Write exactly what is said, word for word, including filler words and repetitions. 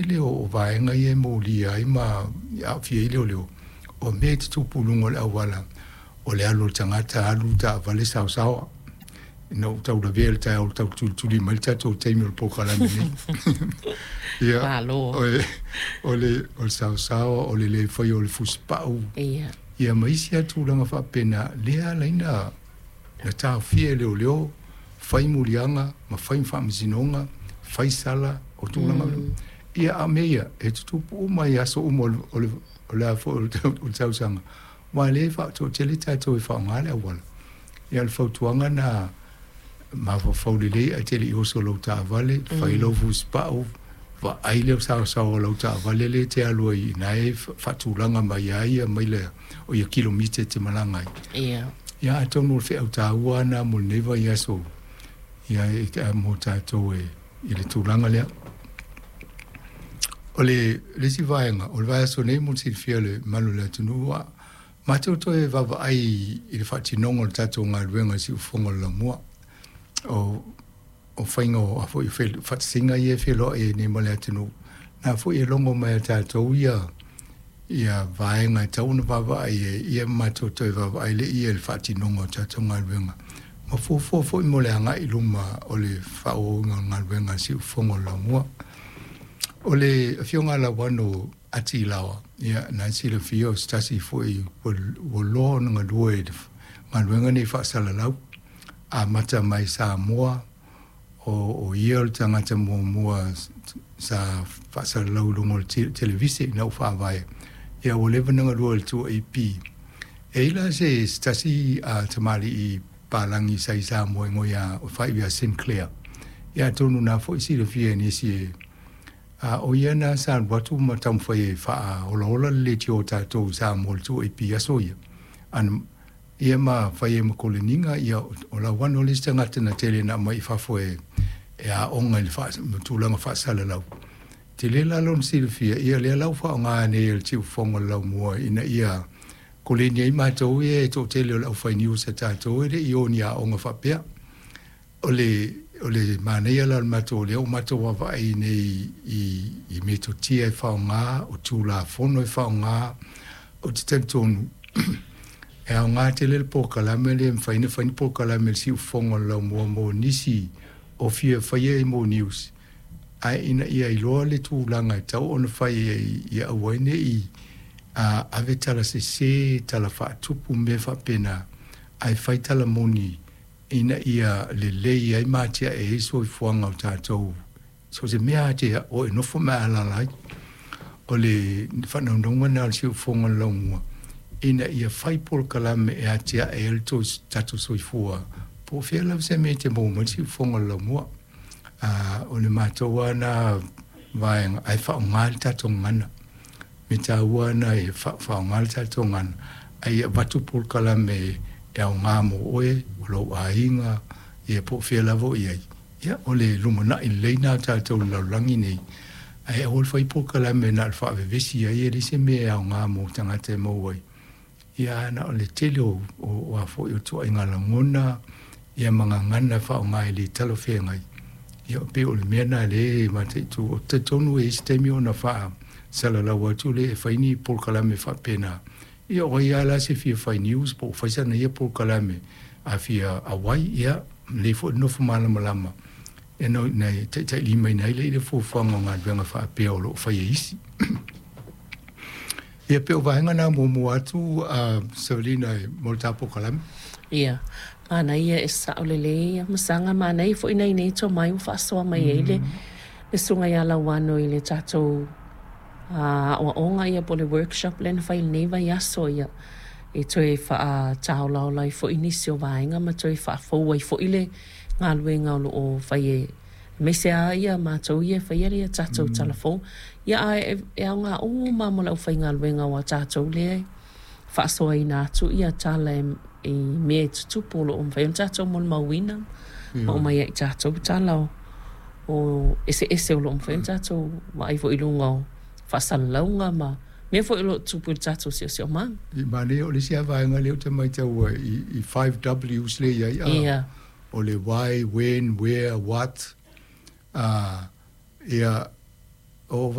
tele o vaega ia e molia ai ma aafia ai leoleo, o mea e tutupu i luga o le auala, o le alu o le tagata alu taavale saosaoa. Ina ua tau lavea le taeao tau tulituli mai le tatou taimi o le polokalame nei. Ia, Malo. o le, o le, o le saosaoa, o le le faia o le fusipau. Ia. Ia ma isi lava tulaga faapena, lea ala ai na, na taofia e leoleo, fai muliaga ma fai faamasinoga, fai sala o tulaga. Mm. Ia a mea ia, e tutupu uma i aso uma o le, o le, o le, a foi o le, o le tausaga. Ua le faatoatele tatou e faaaoga le auala. Ia o le fautuaga na mafaufau lelei ae te le i oso lou taavale, fai lau fusipau, vaai le saosaoa o lau taavale le te alu ai ina e faatulaga mai ai ia maila o ia kilomita e te malaga ai. Ia. Ia atonu o le feau taua na mo lenei vaiaso ia e mo tatou e i le tulaga lea. O le le isi vaega, o le vaiaso nei mo le silafia le mamalu o le atunuu, a matou toe vaavaai i le faatinoga o le tatou galuega i siufofoga o le laumua. O o faiga o a foi faatasiga ia e feloai ai nei ma le atunuu, na foi e logo mai e tatou ia ia vaega e tatau ona vaavaai ai, ia matou toe vaavaai lea i le faatinoga o tatou galuega. Ma fuafua foi mo le agai i luma o le faaauauina o le galuega a siufofoga o le laumua. O le afioga ia Lauano Ati Laoa, ia na silafia o se tasi foi ua loa ona galue i le galuega nei faasalalau, amata mai Samoa, o, o ia o le tagata muamua sa faasalalau i luga o le televise ina ua faavae. Ia ua leva ona galue i le two A P. E i la se, se tasi a tamalii palagi sa i Samoa igoa ia o faaiu ia Sinclair. Ia atonu na foi silafia e nisi e a o ia na sa alu atu ma taumafai e faaolaola le leitio o tatou i Samoa i le two A P aso ia. Ana ia ma fai ai ma koleniga, ia o Lauano le isi tagata na tele na aumai i fafo e e aoga i le faa, tulaga faasalalau. Tele la lona silafia, ia lea la ua faaaoga nei e le siufofoga o le laumua ina ia koleni ai matou ia e toatele o le aufai news a tatou e le i o ni aoga faapea. O le, o le manaia la o le matou lea ua matou vaavaai nei i, i metotia e faaaoga, o tulafono e faaaoga, ou te talitonu e aoga tele le polokalame lea e mafai ona fai ni polokalame i le siufofoga o le laumua mo nisi o fia faia i mo news, ae ina ia iloa le tulaga e tatau ona fai ai ia aua ai ne i a ave tala sese, tala faatupu, mea faapena, ae fai tala moni ina ia lelei ai ma atiae ai soifuaga o tatou. So se mea te o e nofo ma alaala ai. O le faanaunauga na o le siufofoga o le laumua, ina ia fai polokalame e atiae ai le tatou soifua, po o fea lava se mea e te maua mai le siufofoga o le laumua. A, o le matou lava na vaega, ae faaaoga le tatou gagana. Me taua na e faaaoga le tatou gagana, ae ia avatu polokalame e aoga mo oe, o lou aiga, ia po o fea lava o i ai. Ia, o le lumanai lelei na o tatou i le lalolagi nei, ae aua le fai polokalame na o le faavevesi ai, e leai se mea e aoga mo tagata e maua ai. Ia na o le tele o, o, o a foi o tuaiga lagona, ia ma gagana e faaaoga e le talafeagai. Ia pei o le mea na lea e mataitu. O te talitonu e i ai se taimi ona faasalalau atu lea e fai ni polokalame faapena. Ia o ai lava la se fia fai news po o fai sana ia polokalame a fia auai, ia lelei foi le nofo malamalama e no na e taitailimaina ai lea i le fuafuaga o galuega faapea o lo o fai e isi. Ia pei o vaega na muamua atu a Savelina e mo le ta polokalame. Ia, manaia e sao lelei ia masaga, manaia foi nai nei tomai ua faasoa mai ai le le susuga ia Lauano i le tatou aoaoga ia po o le workshop lea na fai i lenei vaiaso ia e toe faataolaola ai foi nisi o vaega ma toe faafou ai foi le galuega o lo o fai e aemaise lava ia matou ia e faia le tatou talafou. Ia ae e aoga uma mo le aufaigaluega aua o tatou lea e faasoaina atu ia tala e i mea e tutupu o lo o mafai ona tatou molimauina ma aumai ai ia tatou tala o o eseese o lo o mafai ona tatou vaai foi i luga o faasalalauga ma mea foi o lo o tutupu i le tatou siosiomaga. I manaia o le isi lava vaega lea ou te maitaua i, i five Ws lea i ai, a, Ia. o le why, when, where, what, a, ia, o